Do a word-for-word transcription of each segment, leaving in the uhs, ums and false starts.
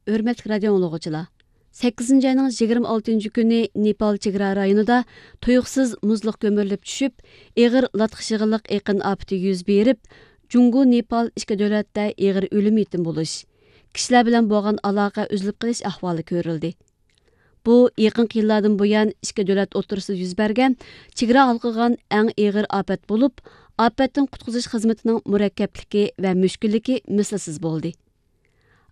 ھۆرمەتلىك رادىئو ئاڭلىغۇچىلار، سەككىزىنچى ئاينىڭ يىگىرمە ئالتىنچى كۈنى نېپال چېگرا رايونىدا تۇيۇقسىز مۇزلۇق گۈمۈرۈلۈپ چۈشۈپ، ئېغىر لاتقا شېغىللىق ئېقىن ئاپىتى يۈز بېرىپ، جۇڭگو نېپال ئىككى دۆلەتتە ئېغىر ئۆلۈم يېتىم بولۇش، كىشىلەر بىلەن بولغان ئالاقە ئۈزۈلۈپ قېلىش ئەھۋالى كۆرۈلدى. بۇ يېقىنقى يىللاردىن بۇيان ئىككى دۆلەت ئوتتۇرىسىدا يۈز بەرگەن چېگرا ھالقىغان ئەڭ ئېغىر ئاپەت بولۇپ، ئاپەتتىن قۇتقۇزۇش خىزمىتىنىڭ مۇرەككەپلىكى ۋە مۈشكۈللۈكى مىسلىسىز بولدى.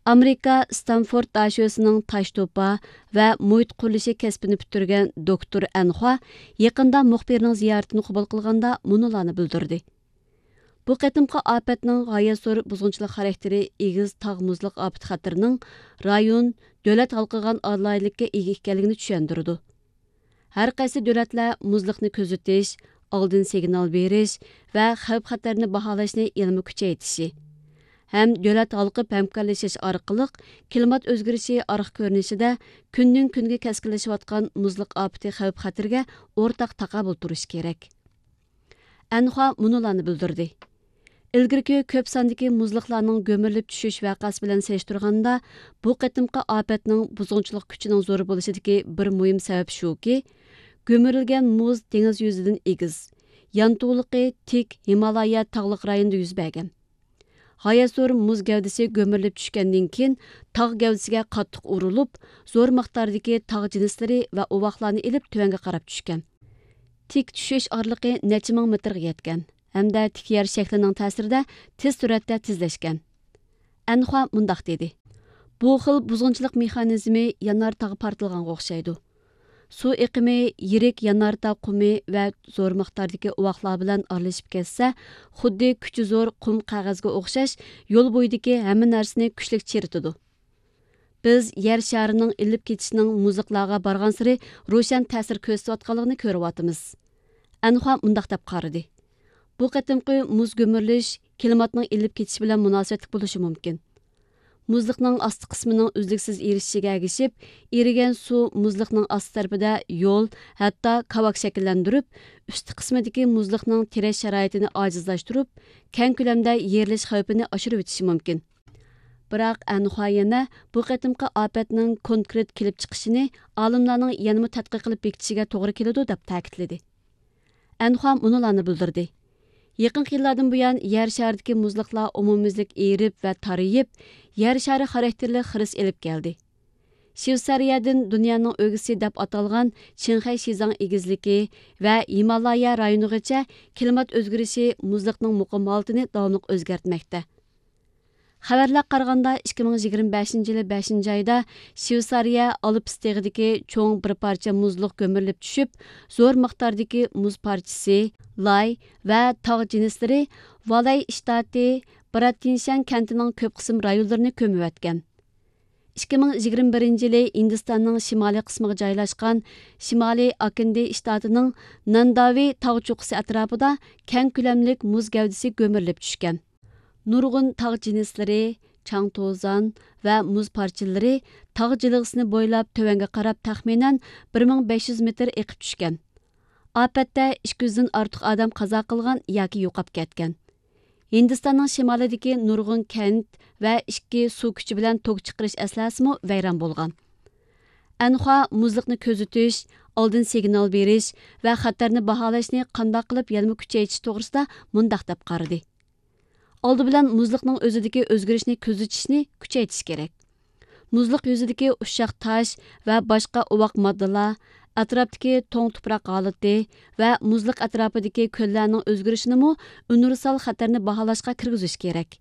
ئامېرىكا ستانفورد داشۆسىنىڭ تاش توپا ۋە مۇھىت قۇرۇلۇشى كەسپىنى پۈتتۈرگەن دوكتور ئەنخۇا يېقىندا مۇخبىرنىڭ زىيارىتىنى قوبۇل قىلغاندا مۇنۇلارنى بىلدۈردى. بۇ قېتىمقى ئاپەتنىڭ غايەت زور بۇزغۇنچىلىق خاراكتېرى ئېگىز تاغ مۇزلۇق ئاپىتى خەتىرىنىڭ رايون، دۆلەت ھالقىغان ئالاھىدىلىككە ئىگە ئىكەنلىكىنى چۈشەندۈرىدۇ. ھەر قايسى دۆلەتلەر مۇزلۇقنى كۆزىتىش، ئالدىن سىگنال بېرىش ۋە خەۋپ خەتەرنى باھالاشنى يەنىمۇ كۈچەيتىشى ھەم دۆلەت ھالقىپ ھەمكارلىشىش ئارقىلىق كىلىمات ئۆزگىرىشى ئارقا كۆرۈنۈشىدە كۈندىن كۈنگە كەسكىنلىشىۋاتقان مۇزلۇق ئاپىتى خەۋپ خەتىرىگە ئورتاق تاقابىل تۇرۇش كېرەك. ئەنخۇا مۇنۇلارنى بىلدۈردى. ئىلگىرىكى كۆپ ساندىكى مۇزلۇقلارنىڭ گۆمۈرۈلۈپ چۈشۈش ۋەقەسى بىلەن سېلىشتۇرغاندا، بۇ قېتىمقى ئاپەتنىڭ بۇزغۇنچىلىق كۈچىنىڭ زور بولۇشىدىكى بىر مۇھىم سەۋەب شۇكى، گۆمۈرۈلگەن مۇز دېڭىز يۈزىدىن ئېگىز، يانتۇلۇقى تىك ھىمالايا تاغلىق رايونىدا يۈز بەرگەن. غايەت زور مۇز گەۋدىسى گۆمۈرۈلۈپ چۈشكەندىن كېيىن، تاغ گەۋدىسىگە قاتتىق ئۇرۇلۇپ، زور مىقداردىكى تاغ جىنسلىرى ۋە ئۇۋاقلارنى ئېلىپ تۆۋەنگە قاراپ چۈشكەن. تىك چۈشۈش ئارىلىقى نەچچە مىڭ مېتىرغا يەتكەن ھەمدە تىك يەر شەكلىنىڭ تەسىرىدە تېز سۈرئەتتە تېزلەشكەن. ئەنخۇا مۇنداق دېدى: بۇ خىل بۇزغۇنچىلىق مېخانىزمى يانار تاغ پارتلىغانغا ئوخشايدۇ. سۇ ئېقىمى يىرىك يانار تاغ قۇمى ۋە زور مىقداردىكى ئۇۋاقلار بىلەن ئارىلىشىپ كەتسە، خۇددى كۈچى زور قۇم قەغەزگە ئوخشاش يول بويىدىكى ھەممە نەرسىنى كۈچلۈك چىرىتىدۇ. بىز يەر شارىنىڭ ئېلىپ كېتىشىنىڭ مۇزلۇقلارغا بارغانسېرى روشەن تەسىر كۆرسىتىۋاتقانلىقىنى كۆرۈۋاتىمىز. ئەنخۇا مۇنداق دەپ قارىدى: بۇ قېتىمقى مۇز گۈمۈرۈلۈش كىلىماتنىڭ ئېلىپ كېتىشى بىلەن مۇناسىۋەتلىك بولۇشى مۇمكىن. مۇزلۇقنىڭ ئاستى قىسمىنىڭ ئۈزلۈكسىز ئېرىشىشىگە ئەگىشىپ، ئېرىگەن سۇ مۇزلۇقنىڭ ئاستى تەرىپىدە يول، ھەتتا كاۋاك شەكىللەندۈرۈپ، ئۈستى قىسمىدىكى مۇزلۇقنىڭ تىرەش شارائىتىنى ئاجىزلاشتۇرۇپ، كەڭ كۆلەمدە يېرىلىش خەۋپىنى ئاشۇرۇۋېتىشى مۇمكىن. بىراق ئەنخۇا يەنە بۇ قېتىمقى ئاپەتنىڭ كونكرېت كېلىپ چىقىشىنى ئالىملارنىڭ يەنىمۇ تەتقىق قىلىپ بېكىتىشىگە توغرا كېلىدۇ، دەپ تەكىتلىدى. ئەنخۇا مۇنۇلارنى بىلدۈردى: يېقىنقى يىللاردىن بۇيان يەر شارىدىكى مۇزلۇقلار ئومۇميۈزلۈك ئېرىپ ۋە تارىيىپ، يەر شارى خاراكتېرلىك خىرىس ئېلىپ كەلدى. شۋېتسارىيەدىن دۇنيانىڭ ئۆگزىسى دەپ ئاتالغان چىڭخەي شىزاڭ ئېگىزلىكى ۋە ھىمالايا رايونىغىچە كىلىمات ئۆزگىرىشى مۇزلۇقنىڭ مۇقىم ھالىتىنى داۋاملىق ئۆزگەرتمەكتە. خەۋەرلەرگە قارىغاندا، ئىككى مىڭ يىگىرمە بەشىنچى يىلى بەشىنچى ئايدا شۋېتسارىيە ئالپس تېغىدىكى چوڭ بىر پارچە مۇزلۇق گۆمۈرۈلۈپ چۈشۈپ، زور مىقداردىكى مۇز پارچىسى، لاي ۋە تاغ جىنسلىرى ۋالاي شتاتى براتىنشەن كەنتىنىڭ كۆپ قىسىم رايونلىرىنى كۆمۈۋەتكەن. ئىككى مىڭ يىگىرمە بىرىنچى يىلى ھىندىستاننىڭ شىمالىي قىسمىغا جايلاشقان شىمالىي ئاكىندى شتاتىنىڭ نانداۋى تاغ چوققىسى ئەتراپىدا كەڭ كۆلەملىك مۇز گەۋدىسى گۆمۈرۈلۈپ چۈشكەن. نۇرغۇن تاغ جىنسلىرى، چاڭ-توزان ۋە مۇز پارچىلىرى تاغ جىلغىسىنى بويلاپ تۆۋەنگە قاراپ تەخمىنەن بىر مىڭ بەش يۈز مېتىر ئېقىپ چۈشكەن. ئاپەتتە ئىككى يۈزدىن ئارتۇق ئادەم قازا قىلغان ياكى يوقاپ كەتكەن. ھىندىستاننىڭ شىمالىدىكى نۇرغۇن كەنت ۋە ئىككى سۇ كۈچى بىلەن توك چىقىرىش ئەسلىھەسىمۇ ۋەيران بولغان. ئەنخۇا مۇزلۇقنى كۆزىتىش، ئالدىن سىگنال بېرىش ۋە خەتەرنى باھالاشنى قانداق قىلىپ يەنىمۇ كۈچەيتىش توغرىسىدا مۇنداق دەپ قارىدى: ئالدى بىلەن مۇزلۇقنىڭ ئۆزىدىكى ئۆزگىرىشنى كۆزىتىشنى كۈچەيتىش كېرەك. مۇزلۇق يۈزىدىكى ئۇششاق تاش ۋە باشقا ئوۋاق ماددىلار، ئەتراپتىكى توڭ تۇپراق ھالىتى ۋە مۇزلۇق ئەتراپىدىكى كۆللەرنىڭ ئۆزگىرىشىنىمۇ ئۇنىۋېرسال خەتەرنى باھالاشقا كىرگۈزۈش كېرەك.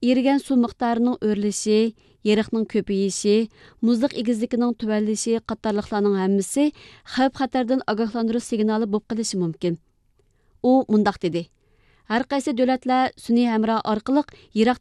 ئېرىگەن سۇ مىقدارىنىڭ ئۆرلىشى، يېرىقنىڭ كۆپىيىشى، مۇزلۇق ئېگىزلىكىنىڭ تۆۋەنلىشى قاتارلىقلارنىڭ ھەممىسى خەۋپ خەتەردىن ئاگاھلاندۇرۇش سىگنالى بولۇپ قېلىشى مۇمكىن. ئۇ مۇنداق دېدى: ھەر قايسى دۆلەتلەر سۈنئىي ھەمراھ ئارقىلىق يىراق